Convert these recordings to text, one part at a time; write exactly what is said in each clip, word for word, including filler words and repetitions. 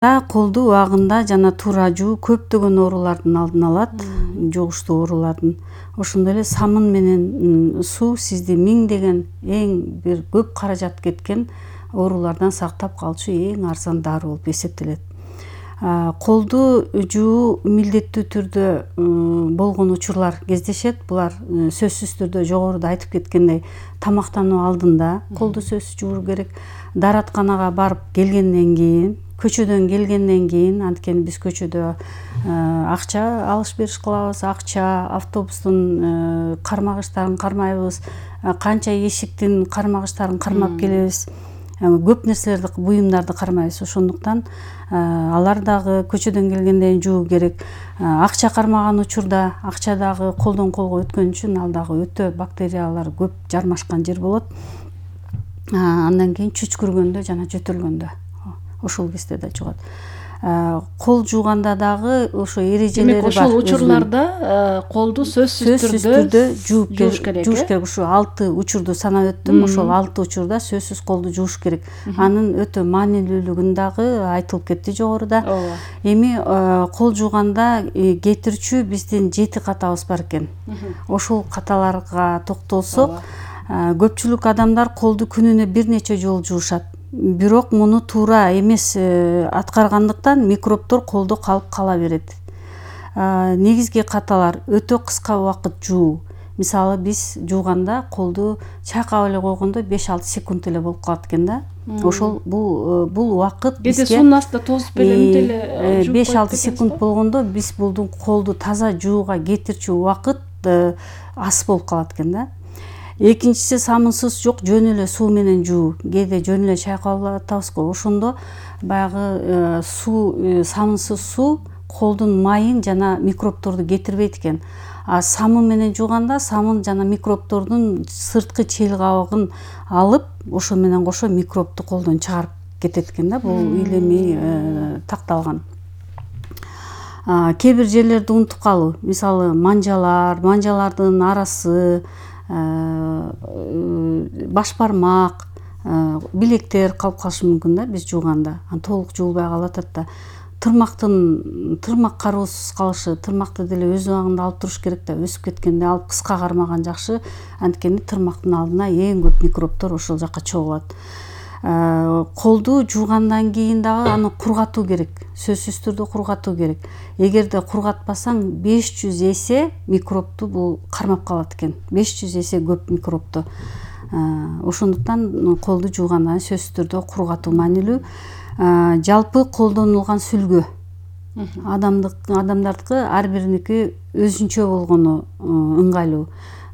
Колду убагында жана туура жуу көптөгөн оорулардын алдын алат, жугуштуу оорулардын. Ошондой эле самын менен суу сизди миңдеген эң бир көп каражат кеткен оорулардан сактап калчу эң арзан дары болуп эсептелет. Колду жуу милдеттүү түрдө болгон учурлар кездешет. Булар сөзсүз түрдө жогоруда айтып кеткендей тамактануу алдында колду сөзсүз жуур керек. Дааратканага барып келгенден кийин, көчөдөн келгенден кийин, анткени биз көчөдө акча алыш бериш кылабыз, акча, автобустун кармагычтарын кармайбыз, канча эшиктин кармагычтарын кармап келебиз. Көп нерселерди, буюмдарды кармайбыз. Ошондуктан алар дагы көчөдөн келгенден жуу керек. Акча кармаган учурда акча дагы колдон колго өткөн үчүн ал дагы өтө бактериялар көп жармашкан жер болот. Андан кийин чүчкүргөндө жана жөтөлгөндө ошол кезде да жугат. Кол жууганда дагы ошо эрежелери бар. Демек ошол учурларда колду сөзсүз түрдө жууп керек. Жууш керек. Ушу алты учурду санап өттүм. Ошол алты учурда сөзсүз колду жууш керек. Анын өтө маанилүүлүгүн дагы айтылып кетти жогоруда. Эми кол жууганда кетирчү биздин жети катабыз бар экен. Ошол каталарга токтолсок, көпчүлүк адамдар колду күнүнө бир нече жолу жуушат. Бирок муну туура эмес аткаргандыктан микробдор колдо калып кала берет. Негизги каталар өтө кыска убакыт жуу. Мисалы биз жууганда колду чайкап эле койгондо беш алты секунд эле болуп калат экен да. Ошол бул бул убакыт бизге кээде суунун астында тосуп эле деле жууп беш алты секунд болгондо биз булдун колду таза жууга кетирчү убакыт аз болуп калат экен да. Экинчиси самынсыз жок, жөн эле суу менен жуу. Кээде жөн эле чайкап атабыз го. Ошондо баягы суу, самынсыз суу колдун майын жана микробдорду кетирбейт экен. А самын менен жууганда самын жана микробдордун сырткы чел кабыгын алып, ошо менен кошо микробду колдон чыгарып кетет экен да. Бул илимий такталган. Кээ бир жерлерди унутуп калуу. Мисалы манжалар, манжалардын арасы, баш бармак, билектер калып калышы мүмкүн да биз жууганда. Толук жуулбай калып атат да. Тырмактын тырмак кароосуз калышы, тырмакты деле өз убагында алып туруш керек да. Өсүп кеткенде алып кыска кармаган жакшы. Анткени тырмактын алдына эң көп микробдор ошол жакка чогулат. Колду жуугандан кийин дагы аны кургатуу керек. Сөзсүз түрдө кургатуу керек. Эгерде кургатпасаң беш жүз эсе микробду бул кармап калат экен. беш жүз эсе көп микробду. Ошондуктан колду жууганда сөзсүз түрдө кургатуу маанилүү. Жалпы колдонулган сүлгү адамдардыкы ар бириники өзүнчө болгону ыңгайлуу.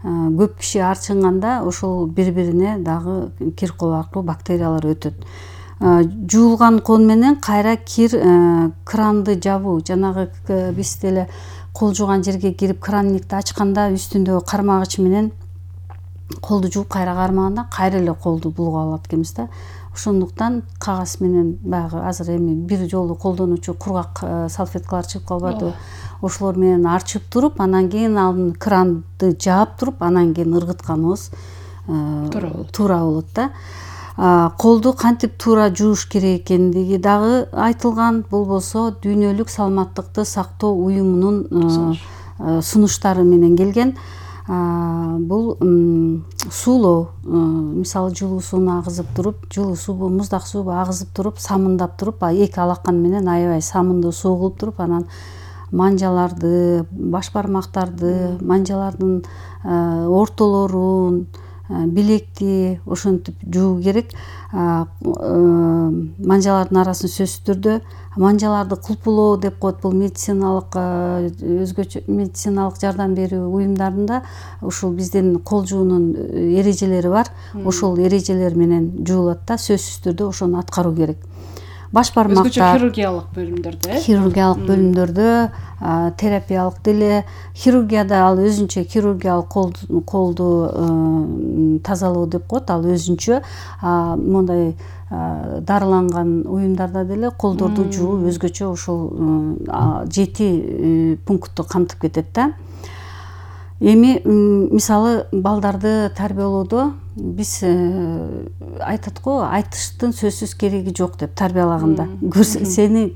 Көп киши арчынганда ошол бири-бирине дагы кир кол аркылуу бактериялар өтөт. Жуулган кол менен кайра кир кранды жабуу, жанагы биз деле кол жууган жерге кирип кранникти ачканда үстүндөгү кармагыч менен колду жууп кайра кармаганда кайра эле колду булгап алат экенбиз да. Ошондуктан кагаз менен баягы азыр эми бир жолу колдонуучу кургак салфеткалар чыгып калбадыбы? Ошолор менен арчып туруп, анан кийин анын кранды жаап туруп, анан кийин ыргытканыбыз туура болот да. Колду кантип туура жууш керек экендиги дагы айтылган. Бул болсо Дүйнөлүк саламаттыкты сактоо уюмунун сунуштары менен келген. Бул суулоо, мисалы жылуу сууну агызып туруп, жылуу суубу, муздак суубу агызып туруп, самындап туруп, эки алакан менен аябай самынды суу кылып туруп, анан манжаларды, баш бармактарды, манжалардын ортолорун, билекти ошентип жуу керек. Манжалардын арасын сөзсүз түрдө манжаларды кулпулоо деп коет. Бул медициналык өзгөчө медициналык жардам берүү уюмдарында ушул биздин кол жуунун эрежелери бар. Ошол эрежелер менен жуулат да, сөзсүз түрдө ошону аткаруу керек. Баш бармактар өзгөчө хирургиялык бөлүмдөрдө, э? Хирургиялык бөлүмдөрдө, терапиялык деле, хирургияда ал өзүнчө хирургиялык колду тазалоо деп коет, ал өзүнчө. Мондай дарыланган уюмдарда деле колдорду жуу өзгөчө ошол жети пунктту камтып кетет да. Эми мисалы балдарды тарбиялоодо биз айтат го, айтыштын сөзсүз кереги жок деп тарбиялаганда. Сени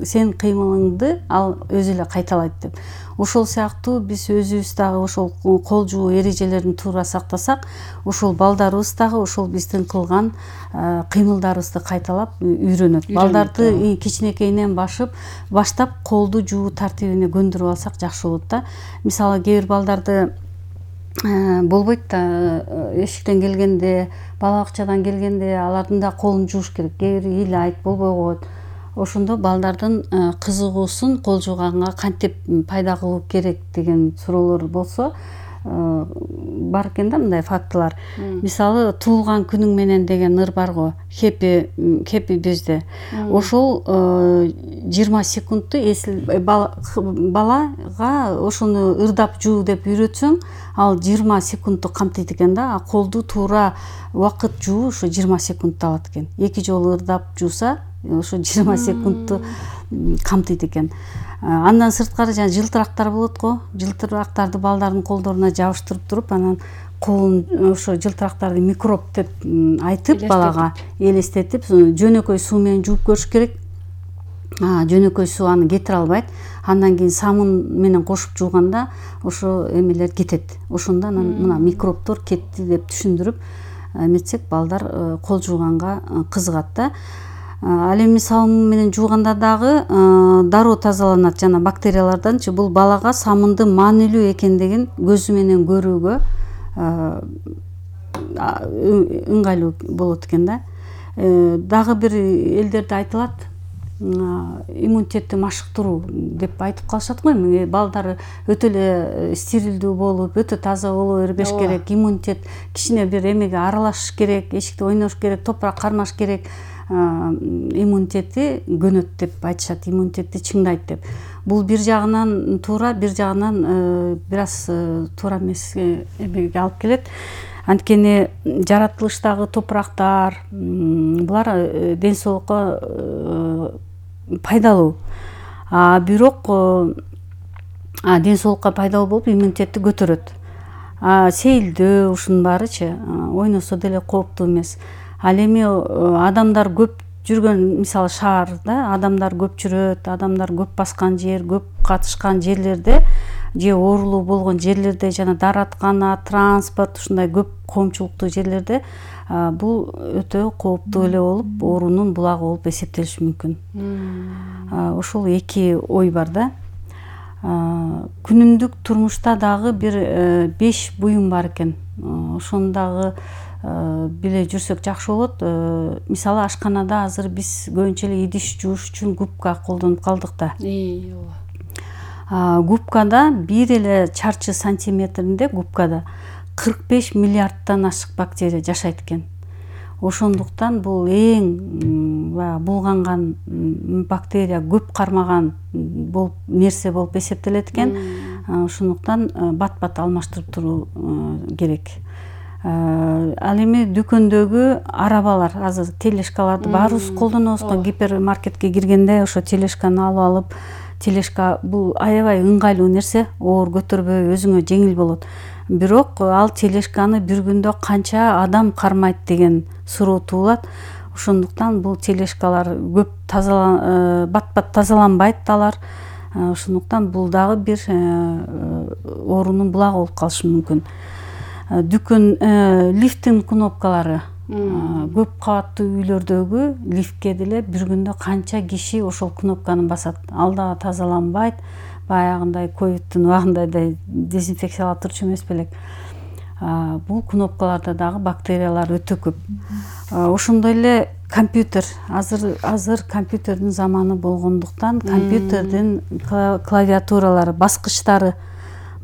сен кыймылыңды ал өзү эле кайталайт деп. Ошол сыяктуу биз өзүбүз дагы ошол кол жуу эрежелерин туура сактасак, ошол балдарыбыз дагы ошол биздин кылган кыймылдарыбызды кайталап үйрөнөт. Балдарды кичинекейинен башып, баштап колду жуу тартибине көндүрүп алсак жакшы болот да. Мисалы кээ бир балдарды болбойт да, эшиктен келгенде, бала бакчадан келгенде алардын да колун жууш керек. Кээ бир ыйлайт, болбой коет. Ошондо балдардын кызыгуусун кол жууганга кантип пайда кылуу керек деген суроолор болсо, бар экен да мындай фактылар. Мисалы, туулган күнүң менен деген ыр бар го, Happy Happy Birthday. Ошол жыйырма секундту эсил балага ошону ырдап жуу деп үйрөтсөң, ал жыйырма секундту камтыйт экен да. А колду туура убакыт жуу ошо жыйырма секундту алат экен. Эки жолу ырдап жууса, ошо жыйырма секундту камтыйт экен. Андан сырткары жана жылтырактар болот го. Жылтырактарды балдардын колдоруна жабыштырып туруп, анан колун ошо жылтырактарды микроб деп айтып балага элестетип, жөнөкөй суу менен жууп көрүш керек. Жөнөкөй суу аны кетире албайт. Андан кийин самын менен кошуп жууганда ошо эмелер кетет. Ошондо анан мына микробдор кетти деп түшүндүрүп эметсек, балдар кол жууганга кызыгат да. Ал эми самын менен жууганда дагы дароо тазаланат жана бактерияларданчы. Бул балага самындын маанилүү экендигин көзү менен көрүүгө ыңгайлуу болот экен да. Дагы бир элдерде айтылат, иммунитетти машыктыруу деп айтып калышат го. Эми балдар өтө эле стерилдүү болуп, өтө таза боло бербеш керек. Иммунитет кичине бир эмеге аралашыш керек, эшикте ойнош керек, топурак кармаш керек. Иммунитети көнөт деп айтышат, иммунитетти чыңдайт деп. Бул бир жагынан туура, бир жагынан бир аз туура эмес эмеге алып келет. Анткени жаратылыштагы топурактар, булар ден соолукка пайдалуу. А бирок ден соолукка пайдалуу болуп иммунитетти көтөрөт. А сейилдөө ушунун баарычы ойносо деле кооптуу эмес. Ал эми адамдар көп жүргөн, мисалы шаарда адамдар көп жүрөт, адамдар көп баскан жер, көп катышкан жерлерде же оорулуу болгон жерлерде жана даараткана, транспорт ушундай көп коомчулуктуу жерлерде бул өтө кооптуу эле болуп, оорунун булагы болуп эсептелиши мүмкүн. Ошол эки ой бар да. Күнүмдүк турмушта дагы бир беш буюм бар экен. Ошону дагы биле жүрсөк жакшы болот. Мисалы, ашканада азыр биз көбүнчө эле идиш жууш үчүн губка колдонуп калдык да. Губкада бир эле чарчы сантиметринде губкада кырк беш миллиардтан ашык бактерия жашайт экен. Ошондуктан бул эң булганган бактерия, көп кармаган болуп нерсе болуп эсептелет экен. Ошондуктан бат-бат алмаштырып туруу керек. Ал эми дүкөндөгү арабалар, азыр телешкаларды баарыбыз колдонобуз го. Гипермаркетке киргенде ошо телешканы алып алып, телешка бул аябай ыңгайлуу нерсе, оор көтөрбөй, өзүңө жеңил болот. Бирок ал телешканы бир күндө канча адам кармайт деген суроо туулат. Ошондуктан бул телешкалар көп тазалан, бат-бат тазаланбайт алар. Ошондуктан бул дагы бир оорунун булагы болуп калышы мүмкүн. Дүкөн лифттин кнопкалары, көп кабаттуу үйлөрдөгү лифтке деле бир күндө канча киши ошол кнопканы басат. Ал дагы тазаланбайт. Баягындай ковидтин убагындай дезинфекциялап турчу эмес белек. Бул кнопкаларда дагы бактериялар өтө көп. Ошондой эле компьютер, азыр азыр компьютердин заманы болгондуктан компьютердин клавиатуралары, баскычтары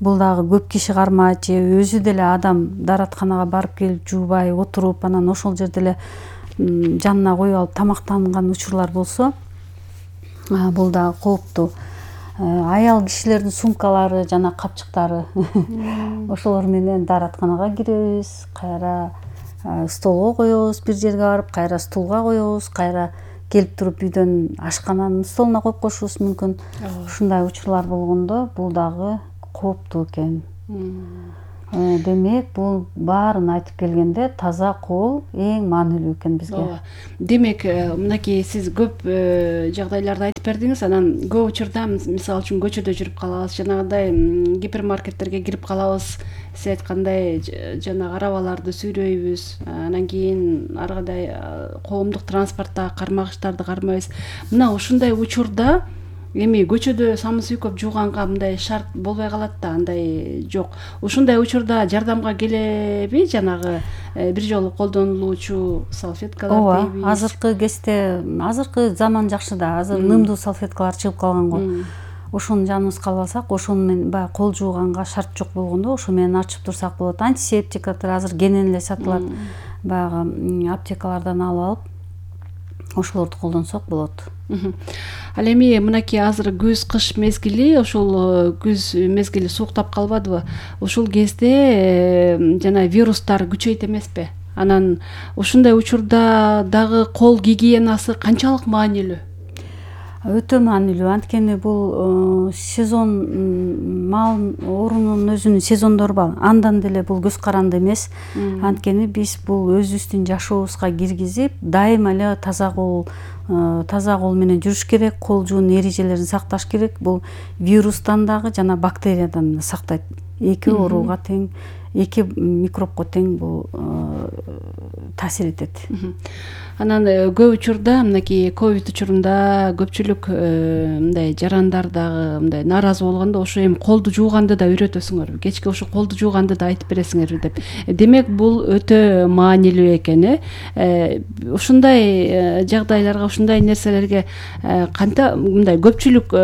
бул дагы көп киши кармайт, же өзү деле адам дааратканага барып келип жуубай отуруп, анан ошол жерде эле жанына коюп алып тамактанган учурлар болсо, бул дагы кооптуу. Аял кишилердин сумкалары жана капчыктары, ошолор менен дааратканага киребиз, кайра столго коебуз, бир жерге барып, кайра стулга коебуз, кайра келип туруп үйдөн ашкананын столуна коюп коюшубуз мүмкүн. Ушундай учурлар болгондо бул дагы кооптуу экен. Демек бул баарын айтып келгенде таза кол эң маанилүү экен бизге. Ооба. Демек мынакей сиз көп жагдайларды айтып бердиңиз. Анан көп учурда мисалы үчүн көчөдө жүрүп калабыз, жанагындай гипермаркеттерге кирип калабыз. Сиз айткандай жанагы арабаларды сүйрөйбүз, анан кийин ар кандай коомдук транспорттагы кармагычтарды кармайбыз. Мына ушундай учурда эми көчөдө самын сүйкөп жууганга мындай шарт болбой калат да, андай жок. Ушундай учурда жардамга келеби жанагы бир жолу колдонулуучу салфеткалар дейбиз? Ооба, азыркы кезде, азыркы заман жакшы да, азыр нымдуу салфеткалар чыгып калган го. Ошону жаныбыз калбасак, ошону менен баягы кол жууганга шарт жок болгондо ошо менен ачып турсак болот. Антисептиктер азыр кенен эле сатылат. Баягы аптекалардан алып алып, ошолорду колдонсок болот. Ал эми мынакей азыр күз кыш мезгили, ошол күз мезгили сууктап калбадыбы? Ушул кезде жана вирустар күчөйт эмеспи? Анан ушундай учурда дагы кол гигиенасы канчалык маанилүү? Өтө маанилүү. Анткени бул сезон, мал оорунун өзүнүн сезондору бар. Андан деле бул көз каранды эмес. Анткени биз бул өзүбүздүн жашообузга киргизип, дайыма эле таза кол таза кол менен жүрүш керек, кол жуунун эрежелерин сакташ керек. Бул вирустан дагы жана бактериядан да сактайт. Эки ооруга тең, эки микробко тең бул таасир этет. Анан көп учурда мынакей ковид учурунда көпчүлүк мындай жарандар дагы мындай нааразы болгондо ошо эми колду жууганды да үйрөтөсүңөрбү, кечки ошо колду жууганды да айтып бересиңерби деп. Демек бул өтө маанилүү экен, э. Ушундай жагдайларга, ушундай нерселерге канта мындай көпчүлүк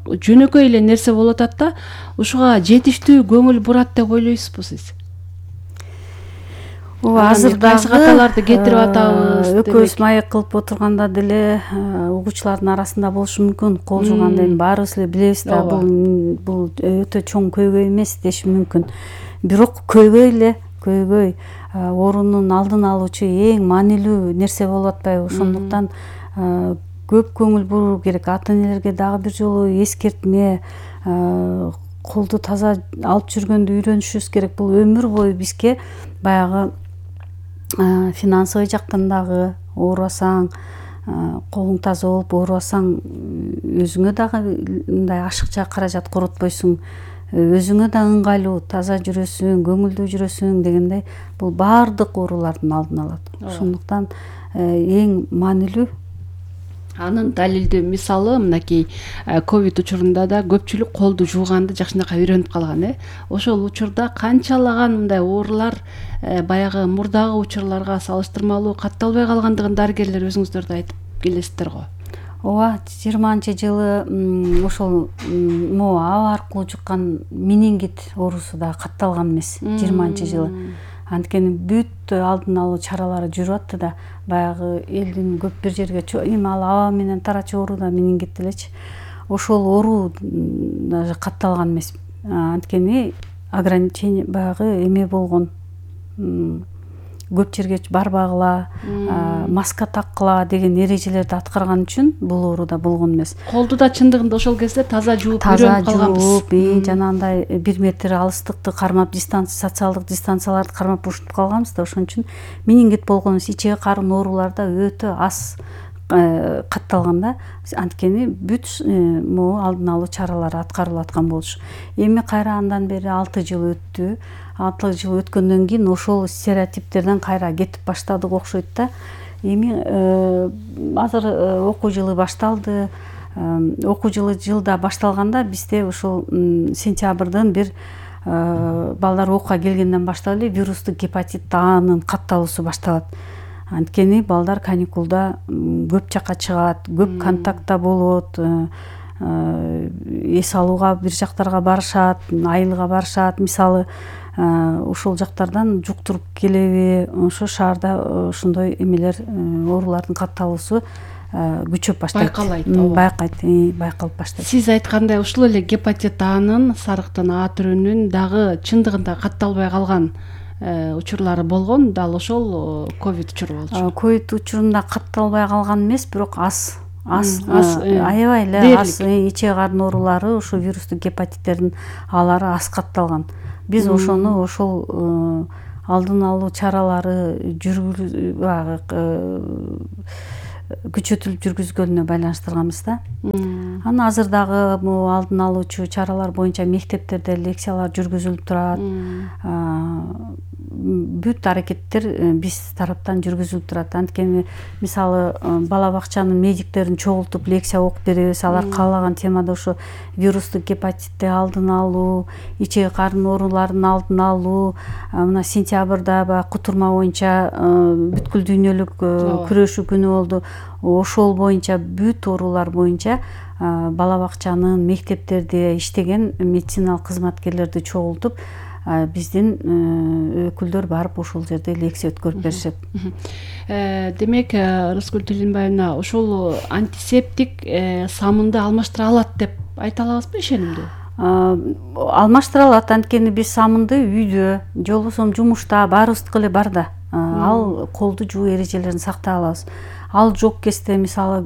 жөнөкөй эле нерсе болуп атат да, ушуга жетиштүү көңүл бурат деп ойлойсузбу сиз? Ооба, азыр кайсы каталарды кетирип атабыз? Экөөбүз маек кылып отурганда деле угуучулардын арасында болушу мүмкүн. Кол жууганды эми баарыбыз эле билебиз да, бул бул өтө чоң көйгөй эмес дешим мүмкүн. Бирок көйгөй эле, көйгөй оорунун алдын алуучу эң маанилүү нерсе болуп атпайбы? Ошондуктан көп көңүл буруу керек. Ата энелерге дагы бир жолу эскертме, колду таза алып жүргөндү үйрөнүшүбүз керек. Бул өмүр бою бизге баягы финансовый жактан дагы оорубасаң, колуң таза болуп оорубасаң, өзүңө дагы мындай ашыкча каражат коротпойсуң, өзүңө да ыңгайлуу, таза жүрөсүң, көңүлдүү жүрөсүң дегендей, бул баардык оорулардын алдын алат. Ошондуктан эң маанилүү. Анын далилдүү мисалы мынакей ковид учурунда да көпчүлүк колду жууганды жакшынакай үйрөнүп калган, э. Ошол учурда канчалаган мындай оорулар баягы мурдагы учурларга салыштырмалуу катталбай калгандыгын дарыгерлер өзүңүздөр да айтып келесиздер го. Ооба, жыйырманчы жылы ошол могу аба аркылуу жуккан менингит оорусу да катталган эмес, жыйырманчы жылы. Анткени бүт алдын алуу чаралары жүрүп атты да, баягы элдин көп бир жерге эми ал аба менен тарачу оору да менингит делечи. Ошол оору даже катталган эмес. Анткени ограничение баягы эме болгон, көп жерге барбагыла, маска таккыла деген эрежелерди аткарган үчүн бул оору да болгон эмес. Колду да чындыгында ошол кезде таза жууп үйрөнүп калганбыз. Таза жууп, жанагындай бир метр алыстыкты кармап, дистанция, социалдык дистанцияларды кармап ушинтип калганбыз да, ошон үчүн менингит болгон эмес. Ичеги карын оорулар да өтө аз катталган да. Анткени бүт могу алдын алуу чаралары аткарылып аткан болчу. Эми кайра андан бери алты жыл өттү. алты жыл өткөндөн кийин ошол стереотиптерден кайра кетип баштадык окшойт да. Эми азыр окуу жылы башталды. Окуу жылы жылда башталганда бизде ошол сентябрдын бир балдар окууга келгенден баштап эле вирустук гепатит А'нын катталуусу башталат. Анткени балдар каникулда көп жакка чыгат, көп контактта болот, эс алууга бир жактарга барышат, айылга барышат. Мисалы, ошол жактардан жуктуруп келеби, ошо шаарда ошондой эмелер, оорулардын катталуусу күчөп баштайт. Байкалайт, байкайт, байкалып баштайт. Сиз айткандай ушул эле гепатит А'нын, сарыктын А түрүнүн дагы чындыгында катталбай калган учурлары болгон, дал ошол ковид учуру болчу. Ковид учурунда катталбай калган эмес, бирок аз ас М, ас, э, аябай эле дээрлик. ас ичек карын оорулары, ушул вирустук гепатиттердин алары аз катталган. Биз ошону ошол алдын алуу чаралары жүргүз баягы күчөтүлүп жүргүзгөнүнө байланыштырганбыз да. Анан азыр дагы могу алдын алуучу чаралар боюнча мектептерде лекциялар жүргүзүлүп турат. Бүт аракеттер биз тараптан жүргүзүлүп турат. Анткени мисалы бала бакчанын медиктерин чогултуп лекция окуп беребиз. Алар каалаган темада ошо вирустук гепатитти алдын алуу, ичек карын ооруларынын алдын алуу, мына сентябрда баягы кутурма боюнча бүткүл дүйнөлүк күрөшүү күнү болду. Ошол боюнча бүт оорулар боюнча бала бакчанын, мектептерде иштеген медициналык кызматкерлерди чогултуп биздин өкүлдөр барып ошол жерде лекция өткөрүп беришет. Демек, Рыскүл Тилинбаевна, ошол антисептик самынды алмаштыра алат деп айта алабызбы ишенимдүү? Алмаштыра алат, анткени биз самынды үйдө же болбосо жумушта баарыбыздыкы эле бар да. Ал колду жуу эрежелерин сактай алабыз. Ал жок кезде, мисалы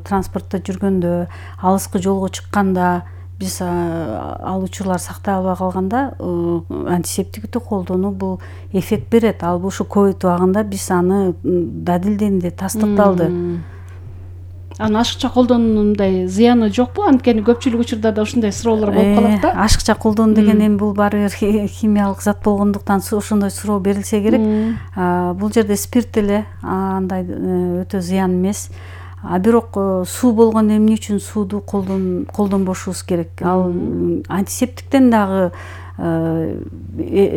транспортто жүргөндө, алыскы жолго чыкканда биз ал учурлар сактай албай калганда антисептикти колдонуу бул эффект берет. Ал ушу ковид убагында биз аны далилденди, тастыкталды. Аны ашыкча колдонуундай зыяны жокпу? Анткени көпчүлүк учурда ушундай суроолор болуп калат да. Ашыкча колдонуу деген эми бул баары бир химиялык зат болгондуктан ошондой суроо берилсе керек. Бул жерде спирт эле, андай өтө зыян эмес. А бирок суу болгондо эмне үчүн сууду колдонбошубуз керек? Ал антисептиктен дагы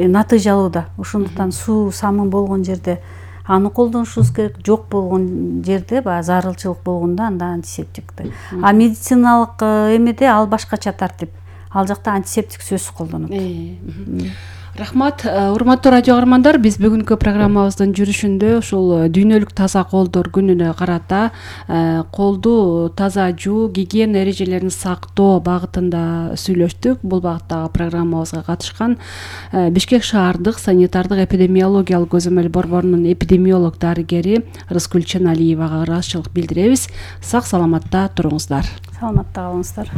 натыйжалуу да. Ошондуктан суу самын болгон жерде аны колдонушубуз керек. Жок болгон жерде, баягы зарылчылык болгондо анда антисептикти. А медициналык эмеде ал башкача тартип. Ал жакта антисептик сөзсүз колдонот. Рахмат, урматтуу радио каармандар, биз бүгүнкү программабыздын жүрүшүндө ушул дүйнөлүк таза колдор күнүнө карата колду таза жуу, гигиена эрежелерин сактоо багытында сүйлөштүк. Бул багыттагы программабызга катышкан Бишкек шаардык санитардык эпидемиологиялык көзөмөл борборунун эпидемиолог дарыгери Рыскүл Ченалиевага ыраазычылык билдиребиз. Сак саламатта туруңуздар. Саламатта калыңыздар.